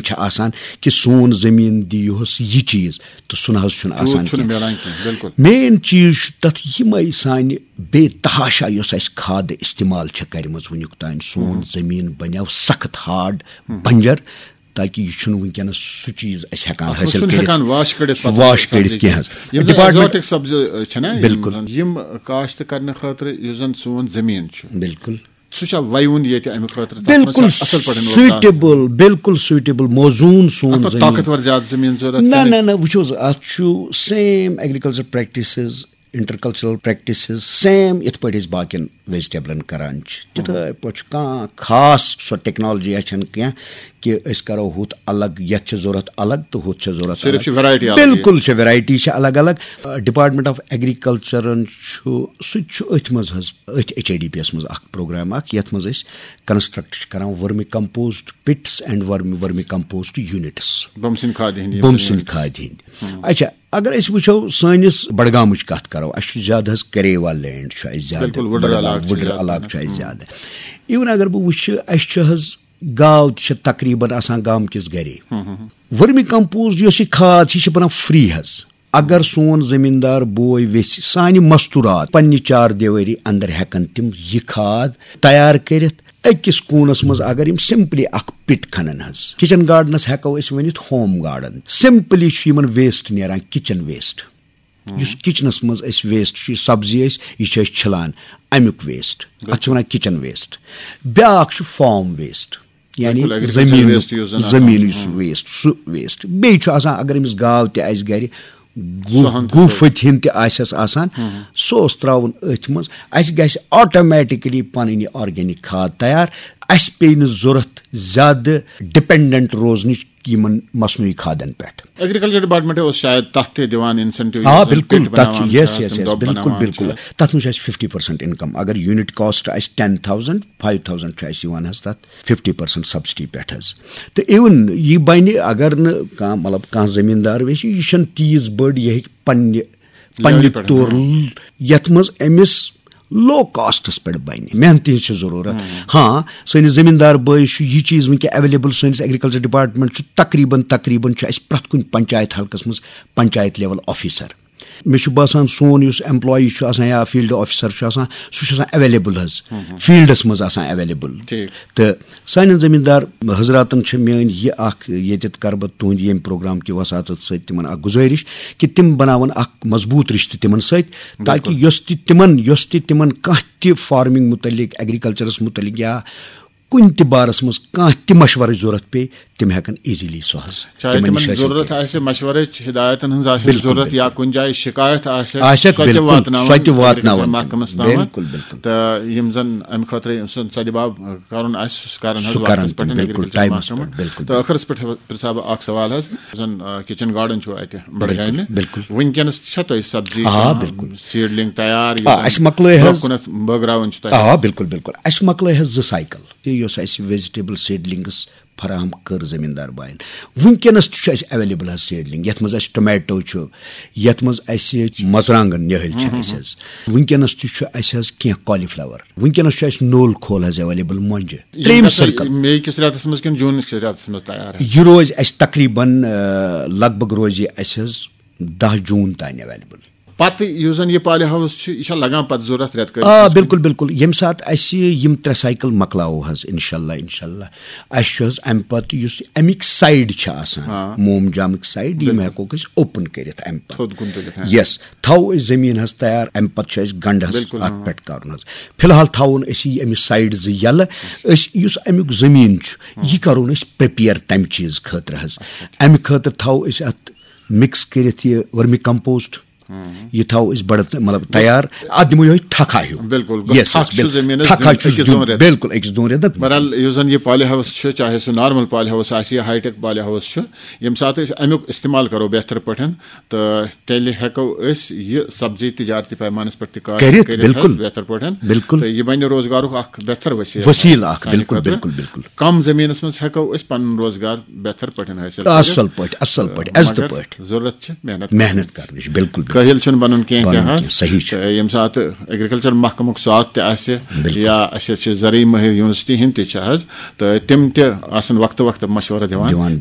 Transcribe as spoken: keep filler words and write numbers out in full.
چھِ آسان کہِ سون زٔمیٖن دِ یُہُس یہِ چیٖز، تہٕ سُہ نہ حظ چھُنہٕ آسان تیوٗت چھُنہٕ کینٛہہ۔ میلان کینٛہہ، بِلکُل۔ مین چیٖز چھُ تَتھ یِمَے سانہِ بے تحاشا یۄس اَسہِ کھادٕ استعمال چھےٚ کَرِمٕژ وٕنیُک تام، سون زٔمیٖن بَنیو سخت ہارڈ، بنجر، تاکہِ یہِ چھُنہٕ وٕنکیٚنَس سُہ چیٖز اَسہِ ہٮ۪کان اَتھ منٛز حٲصِل چھُنہٕ کٔرِتھ۔ ہٮ۪کان واش کٔڑِتھ سُہ پَتہٕ واش سبزی کٔڑِتھ کینٛہہ حظ۔ یِم زَن ڈپارٹمنٹ ایگزاٹک سبزی چھِنہ، یِم بِلکُل۔ زَن، یِم کاشت کرنہٕ خٲطرٕ یُس زَن سون زٔمیٖن چھُ، بِلکُل۔ سُہ چھا وَیوُن ییٚتہِ اَمہِ خٲطرٕ؟ تَتھ منٛز چھا بِلکُل اَصٕل پٲٹھۍ روزگار؟ سوٗٹیبٕل، بِلکُل سوٗٹیبٕل، موزوٗن سون اَتھ منٛز زٔمیٖن۔ طاقتور زیادٕ زٔمیٖن ضوٚرَتھ نہ کِنہٕ؟ نہ نہ، وٕچھ حظ، اَتھ چھُ same agriculture practices, intercultural practices same یِتھ پٲٹھۍ أسۍ باقین ویجٹیبلن کران چھِ، تِتھے پٲٹھۍ چھُ۔ کانٛہہ خاص سۄ ٹیکنالجی چھَنہٕ کینٛہہ کہِ أسۍ کرو ہُتھ الگ، یَتھ چھِ ضوٚرتھ الگ تہٕ ہُتھ چھِ ضوٚرتھ صرف الگ۔ چھِ ویرایٹی الگ۔ بِلکُل چھِ، ویرایٹی چھِ الگ الگ۔ ڈپارٹمنٹ آف ایگریکلچرن چھُ، سُہ تہِ چھُ أتھۍ منٛز حظ، أتھۍ ایچ آئی ڈی پی یَس منٛز اکھ پروگرام اکھ، یَتھ منٛز أسۍ کنسٹرکٹ چھِ کران vermi compost pits and vermi, vermi compost units. بُمسِنۍ کھادِ ہِنٛدۍ یِم بُمسِنۍ زٔمیٖن۔ کھادِ ہِنٛدۍ۔ اچھا، اگر أسۍ وٕچھو سٲنِس بڈگامٕچ کتھ کرو، اَسہِ چھُ زیادٕ حظ کریوا لینڈ چھُ اَسہِ زیادٕ۔ بِلکُل، وُڈٕر بڈگام علاقہٕ چھُ وُڈٕر زیادٕ علاقہٕ پَہَن۔ چھُ اَسہِ زیادٕ۔ اِوٕن اگر بہٕ وٕچھٕ، اَسہِ چھُ حظ گاو تہِ چھِ تقریباً آسان گامہٕ کِس گرے۔ ورمی کمپوسٹ یۄس یہِ کھاد چھِ، یہِ چھِ بنان فری حظ۔ اگر سون زٔمیٖندار بوے ویژھِ سانہِ مستوٗرات پننہِ چار دیوٲری اندر ہٮ۪کن تِم یہِ کھاد تیار کٔرِتھ، أکِس کوٗنس منٛز اگر یِم سمپلی اکھ پِٹ کھنن حظ، کچن گارڈنس ہٮ۪کو أسۍ ؤنِتھ ہوم گارڈن۔ سمپلی چھُ یِمن ویسٹ نیران، کچن ویسٹ۔ یُس کچنس منٛز أسۍ ویسٹ چھُ، یہِ سبزی أسۍ، یہِ چھِ أسۍ چھلان، امیُک ویسٹ، اتھ چھِ ونان کچن ویسٹ۔ بیاکھ چھُ فارم ویسٹ، یعنی بِلکُل، agriculture زٔمیٖن، waste یُس زَن آسان زٔمیٖن چھُ۔ یُس ویسٹ، سُہ ویسٹ۔ بیٚیہِ چھُ آسان، اگر أمِس گاو تہِ آسہِ گرِ، گُہہ، سُہ ہن تہِ گُہہ تُلہِ۔ پھٔتۍ ہن تہِ آسٮ۪س آسان، سُہ اوس تراوُن أتھۍ منٛز۔ اَسہِ گژھِ آٹومیٹکلی پنٕنۍ یہِ آرگینک کھاد تیار۔ اَسہِ پیٚیہِ نہٕ ضوٚرتھ زیادٕ ڈِپینڈنٹ روزنٕچ یِمن مصنوعی کھادن پٮ۪ٹھ۔ ایگریکلچر ڈپارٹمنٹ اوس شاید تَتھ تہِ دِوان انسینٹیو، آ، بِلکُل، تَتھ چھُ، یس یس یس، بِلکُل بِلکُل۔ تَتھ منٛز چھُ اَسہِ فِفٹی پٔرسنٹ اِنکم۔ اگر یوٗنٹ کاسٹ آسہِ ٹین تھاوزنڈ، فایو تھاوزنڈ چھُ اَسہِ یِوان حظ تَتھ فِفٹی پٔرسنٹ سبسڈی پٮ۪ٹھ حظ۔ تہٕ اِوٕن یہِ بَنہِ، اگر نہٕ کانٛہہ، مطلب، کانٛہہ زٔمیٖندار ویژھِ، یہِ چھُنہٕ تیٖژ بٔڑ، یہِ ہیٚکہِ پننہِ، پننہِ لیولہِ پٮ۪ٹھ، طور، یَتھ منٛز أمِس لو کاسٹس پٮ۪ٹھ بَنہِ، محنتہِ ہٕنٛز چھِ ضروٗرت۔ ہاں، سٲنِس زٔمیٖندار بٲیِس چھُ یہِ چیٖز وٕنکیٚن ایویلیبل، سٲنِس ایگریکلچر ڈپارٹمنٹ چھُ تقریباً، تقریباً چھُ اَسہِ پرٛٮ۪تھ کُنہِ پنچایت حلقس منٛز پنچایت لیول آفیسر۔ مےٚ چھُ باسان، سون یُس ایمپلائی چھُ آسان یا فیلڈ آفیسر چھُ آسان، سُہ چھُ آسان اویلیبل حظ، فیلڈس منٛز آسان اویلیبل۔ ٹھیٖک۔ تہٕ سانٮ۪ن زٔمیٖندار حضراتن چھِ میٲنۍ یہِ اکھ، ییٚتٮ۪تھ کرٕ بہٕ تُہنٛدِ ییٚمہِ پروگرام کہِ وساطت سۭتۍ تِمن اکھ گُزٲرِش کہِ تِم بناون اکھ مضبوٗط رشتہٕ تِمن سۭتۍ، تاکہِ یۄس تہِ تِمن، یۄس تہِ تِمن کانٛہہ تہِ فارمنگ متعلق، ایگریکلچرس متعلق یا کُنہِ تہِ بارس منٛز کانٛہہ تہِ مشورٕچ ضروٗرت پیٚیہِ، تِم ہٮ۪کن ایزیلی سُہ حظ چاہے تِمن تِمن نِش حٲصِل ضروٗرت کٔرِتھ۔ آسہِ مشورٕچ، ہدایتن ہٕنٛز آسہِ بِلکُل، ضروٗرت یا بِلکُل۔ کُنہِ جایہِ شِکایت آسہِ، آسٮ۪کھ، سۄ تہِ بِلکُل، واتناوان سۄ تہِ واتناوان۔ ایگریکلچر محکمس تامَتھ۔ بِلکُل، بِلکُل۔ تہٕ یِم زن امہِ خٲطرٕ یِم سُنٛد سدِ باب کرُن آسہِ، سُہ کرن حظ سُہ وقتس کرن، پٮ۪ٹھ بِلکُل، ایگریکلچر ٹایمس محکمہٕ۔ پٮ۪ٹھ، بِلکُل، تہٕ ٲخرس پٮ۪ٹھ پرژھا بہٕ اکھ سوال حظ، یُس زن، آ، کچن گارڈن چھُ اتہِ بڈگامہِ۔ بِلکُل۔ وٕنکیٚنس چھا تۄہہِ سبزی آ، کانٛہہ بِلکُل۔ سیڈلنگ تیار، یُس آ، زن اَسہِ مۄکلٲے برونٛہہ حظ۔ کُنتھ بٲگراوٕنۍ چھُ تۄہہِ؟ آ، بِلکُل، بِلکُل۔ اَسہِ مۄکلٲے حظ زٕ سایکل۔ یہِ یۄس اَسہِ ویجٹیبل سیڈلنگس فراہم کٔر زٔمیٖندار باین۔ وٕنکیٚنَس تہِ چھُ اَسہِ اویلیبل حظ سیڈلنگ، یَتھ منٛز اَسہِ ٹومیٹو چھُ، یَتھ منٛز اَسہِ مَرژٕوانٛگَن نِہٲلۍ چھِ اَسہِ حظ۔ وٕنکیٚنَس تہِ چھُ اَسہِ حظ کینٛہہ کالی فلاور۔ وٕنکیٚنَس چھُ اَسہِ نول کھول حظ اویلیبل مۄنجہِ۔ یِم ترٛیٚیِم گژھن سرکل۔ مے کِس رٮ۪تس منٛز کِنہٕ جوٗن کِس رٮ۪تس منٛز تیار حظ؟ یہِ روزِ اَسہِ تقریباً، آ، لگ بگ روزِ یہِ اَسہِ حظ دَہ جوٗن تام اویلیبل۔ پتہٕ یُس زن یہِ پالی ہاوس چھُ، یہِ چھا لگان پتہٕ ضروٗرت رٮ۪تہٕ کٲلِس آ، منٛز؟ بِلکُل، بِلکُل۔ ییٚمہِ ساتہٕ اَسہِ یِم ترٛےٚ سایکل مۄکلاوو حظ، اِنشاء اللہ، اِنشاء اللہ، اَسہِ چھُ حظ اَمہِ پتہٕ یُس اَمِکۍ سایڈ چھِ آسان، آ۔ موم جامٕکۍ سایڈ، یِم بِلکُل۔ ہٮ۪کوکھ أسۍ اوپن کٔرِتھ اَمہِ پتہٕ۔ تھوٚد کُن تُلِتھ، ہاں۔ یس، تھاوو أسۍ زٔمیٖن حظ تیار، اَمہِ پتہٕ چھُ اَسہِ گنڈٕ حظ بِلکُل، اَتھ ہاں۔ پٮ۪ٹھ کَرُن حظ۔ فی الحال تھاوون أسۍ یہِ اَمِچ سایڈ زٕ یَلہٕ۔ أسۍ یُس اَمیُک زٔمیٖن چھُ، یہِ کَرون أسۍ پریپیئر تَمہِ چیٖز خٲطرٕ حظ۔ اَمہِ خٲطرٕ تھاوو أسۍ اَتھ مِکس کٔرِتھ یہِ ؤرمی کمپوسٹ۔ یہِ تھاوو أسۍ بڑٕ تہٕ، مطلب، تیار۔ اَتھ دِمو یِہوٚے تھکھا ہیوٗ۔ بِلکُل، گوٚو یس، تھکھ یس، چھُ زٔمیٖنَس تھکھا دیُن چھُس أکِس دیُن۔ دۄن رٮ۪تن۔ بِلکُل، أکِس دۄن رٮ۪تن۔ بہرحال، یُس زن یہِ پالی ہاوس چھُ، چاہے سُہ نارمل پالی ہاوس آسہِ یا ہائی ٹیک پالی ہاوس چھُ، ییٚمہِ ساتہٕ أسۍ اَمیُک استعمال کرو بہتر پٲٹھۍ، تہٕ تیٚلہِ ہٮ۪کو أسۍ یہِ سبزی تجارتی پیمانس پٮ۪ٹھ تہِ کار کٔرِتھ، کٔرِتھ بِلکُل۔ حظ بہتر پٲٹھۍ۔ بِلکُل۔ تہٕ یہِ بنہِ روزگارُک اکھ بہتر وسیٖلہٕ وسیٖلہٕ اکھ، سانہِ بِلکُل، خٲطرٕ۔ بِلکُل، بِلکُل۔ کم زٔمیٖنَس منٛز ہٮ۪کو أسۍ پنُن روزگار بہتر پٲٹھۍ حٲصِل کٔرِتھ۔ اصل پٲٹھۍ، اصل پٲٹھۍ، عزتہٕ مگر پٲٹھۍ۔ ضروٗرت چھِ محنت۔ محنت کرنٕچ، بِلکُل، بِلکُل۔ کٲہِل چھُنہٕ بَنُن کینٛہہ تہِ بَنُن حظ۔ کینٛہہ، صحیح چھُ۔ تہٕ ییٚمہِ ساتہٕ ایگریکلچر محکمُک ساتھ تہِ آسہِ، بِلکُل۔ یا اَسہِ چھِ زرعی مٲہِر یونیورسٹی ہِنٛدۍ تہِ چھِ حظ، تہٕ تِم تہِ آسَن وقتہٕ وقتہٕ مَشوَرٕ دِوان۔ دِوان، بِلکُل۔